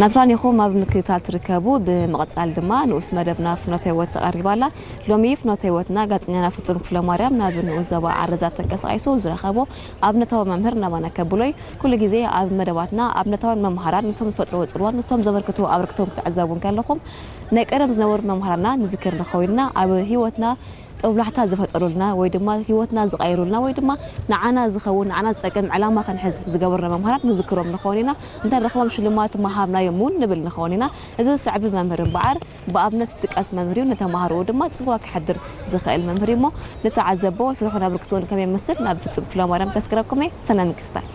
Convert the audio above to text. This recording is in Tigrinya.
ናትራን ኢኹም ኣብ ምክትታል ትርከቡ። ብምቕጻል ድማ ንኡስ መደብና ፍኖተ ህይወት ተቐሪባ ኣላ። ሎሚ ፍኖተ ህይወትና ጋዜጠኛና ፍጹም ክፍለ ማርያም ናብ ንኡስ ዞባ ዓረዛ ተንቀሳቒሱ ዝረኸቦ ኣብነታዊ መምህር ናባና ከብሎ እዩ። ኩሉ ግዜ ኣብ መደባትና ኣብነታውያን መምሃራን ንሶም ዝፈጥርዎ ጽልዋ ንሶም ዘበርክቱ ኣበርክቶም ክትዕዘቡ እንከለኹም ናይ ቀደም ዝነበሩ መምሃራና ንዝክር ንኸውን ኢና። ኣብ ህይወትና ጦብላሕታ ዝፈጠሩልና ወይ ድማ ህይወትና ዝቐይሩልና ወይ ድማ ንዓና ዝኸውን ንዓና ዝጠቅም ዕላማ ክንሕዝ ዝገበሩና መምሃራን ንዝክሮም ንኸውን ኢና። እንተረኽቦም ሽልማት ምሃብናዮም እውን ንብል ንኸውን ኢና። እዚ ዝስዕብ መምህር እምበኣር ብኣብነት ዝጥቀስ መምህር እዩ። ንተምሃሮኡ ድማ ጽልዋ ክሕድር ዝኽእል መምህር እዩ እሞ ንተዓዘቦ ስርሑን ኣበርክቶን ከመይ ይመስል ናብ ፍጹም ክፍለ ማርያም ከስግረኩም እየ። ሰናይ ምክትታል።